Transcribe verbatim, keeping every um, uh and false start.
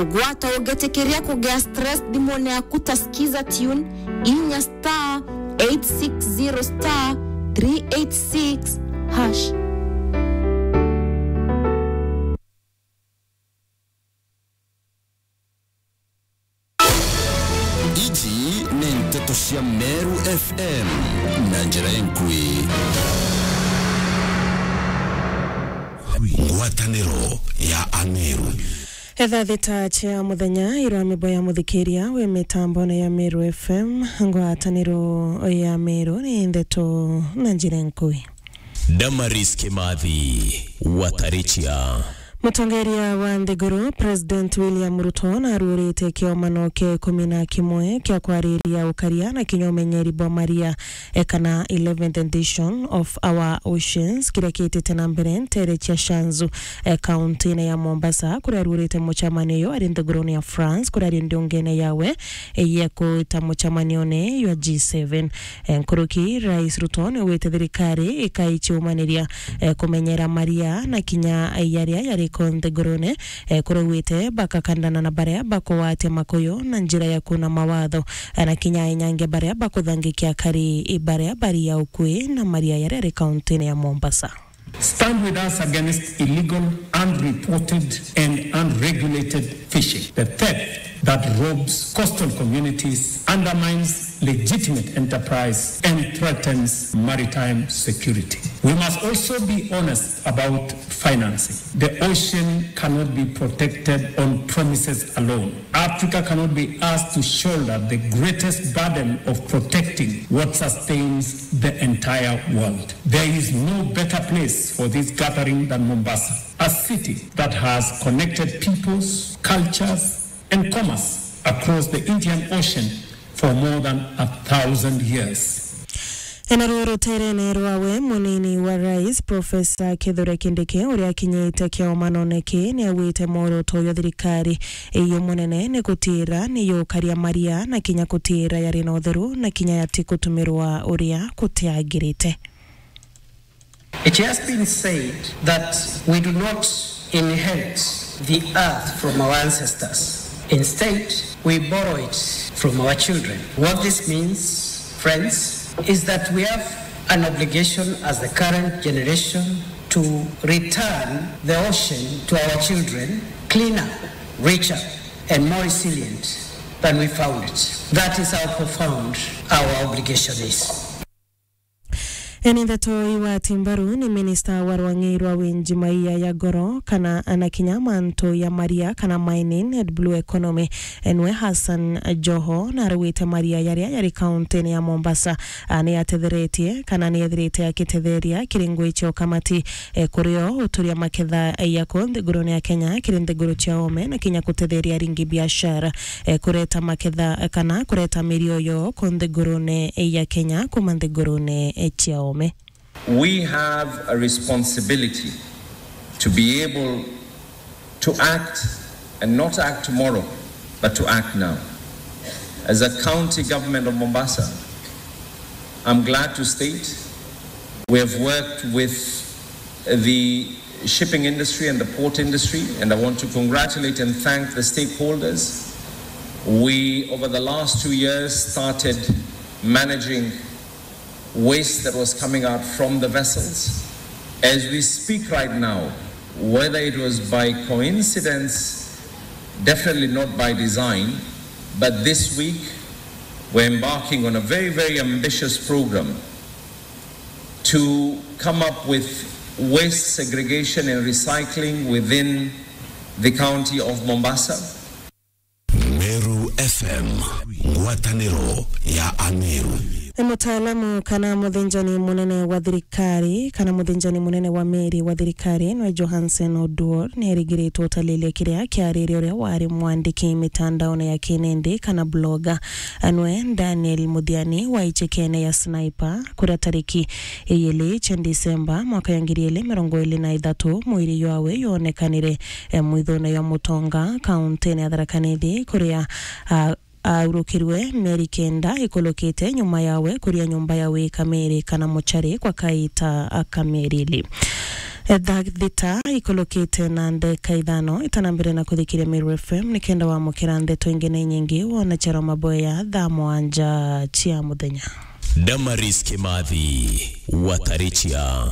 Ugwata ugetikiria kugia stress thimune yaku ta Skiza Tune, inya star eight six zero star three eight six hash. Iji ni nteto cia Meru F M na njira inkui. Ngwataniro ya Ameru. Etha thita cia muthenya irwa mibo ya muthikiria wi mitambone ya Meru F M, ngwataniro ya Meru ni nteto na njira inkui. Damaris Kimathi, Watarichia. Mutongeria wa nthiguru, President William Ruto, naruurite kiomano kia ikumi na kimwe kia kwariria ukaria na kinya umenyeri bwa maria, e, kana eleventh edition of Our Oceans, kiria kiitite na mbere nteere cia Shanzu, e, kauntiine ya Mombasa, kuria aruurite mucemanio uyu ari nthigurune ya France, kuria ari ndiungene yawe, e, ya kuita mucemanione jwa G seven. E, nkuruki, Rais Ruto niaugite thirikari ikaichiumaniria, e, kumenyera maria na kinya jaria jari ku nthigurune, e, kuria augite bakakandana na baria bakugwatia makuyu na njira ya kuuna mawatho, e, na kinya enyange baria bakuthangikia akari baria bari ya ukui na maria jaria jari kauntiine ya Mombasa. Stand with us against illegal, unreported and unregulated fishing, the theft that robs coastal communities, undermines legitimate enterprise and threatens maritime security. We must also be honest about financing. The ocean cannot be protected on promises alone. Africa cannot be asked to shoulder the greatest burden of protecting what sustains the entire world. There is no better place for this gathering than Mombasa, a city that has connected peoples, cultures, and commerce across the Indian Ocean for more than a thousand years. Ena ruo ruterene rwawe, munini wa rais, Profesa Kithure Kindiki, uria akinyite kiomanone ki, niaugite mworoto uyu thirikari iyo munene ni gutiira ni yukaria maria na kinya gutiira yari na utheru na kinya yati gutumirwa uria gutiagirite. It has been said that we do not inherit the earth from our ancestors. Instead, we borrow it from our children. What this means, friends, is that we have an obligation as the current generation to return the ocean to our children cleaner, richer, and more resilient than we found it. That is how profound our obligation is. Eni ndeto iwati mbaru ni minista wa rwang'i rwa winji maia ya goro kana na kinya mantu ya maria kana mining and blue economy, enwe Hassan Joho, na arugite maria yaria yari kaunti-ini ya Mombasa, a, ni atetheretie kana ni ethirite akitetheria kiringo icio kamati, e, kurio uturia maketha ya ku nthigurune ya Kenya kiri nthiguru cia ome na kinya kutetheria aringi biashara, e, kureta maketha kana kureta mirio yo ku nthigurune ya Kenya kuma nthigurune cia ome. We have a responsibility to be able to act and not act tomorrow, but to act now. As a county government of Mombasa, I'm glad to state we have worked with the shipping industry and the port industry, and I want to congratulate and thank the stakeholders. We, over the last two years, started managing waste that was coming out from the vessels. As we speak right now, whether it was by coincidence, definitely not by design, but this week we're embarking on a very, very ambitious program to come up with waste segregation and recycling within the county of Mombasa. Meru F M, ngwataniro ya Ameru. Mutaalamu kana muthinjani munene wa thirikari, kana muthinjani munene wa meri wa thirikari, nwe Johansen Oduor, ni erigiritwe utalilia kiria kiarire uria wari mwandiki mitandaone ya kinindi kana blogger, anwe Daniel Muthiani wa ichekene ya Sniper, kuria tariki iyili cia Disemba mwaka ya ngiri ili mirongo ili na ithatu, mwiri jwawe yonekanire, e, mwithone ya Mutonga, kaunti-ini ya Tharaka Nithi, kuria, a, aurukirwe mieri kenda ikulukite nyuma yawe kuria nyumba ya wika meri kana muchari kwa kaita ka mieri ili. Thaa thita ikulukite na ndeka ithano, itana mbere na kuthikiria Meru F M, nikenda wamukira ndeto ingi na inyingi wona charo maboya thaa mwanja cia muthenya. Damaris Kimathi, Watarichia.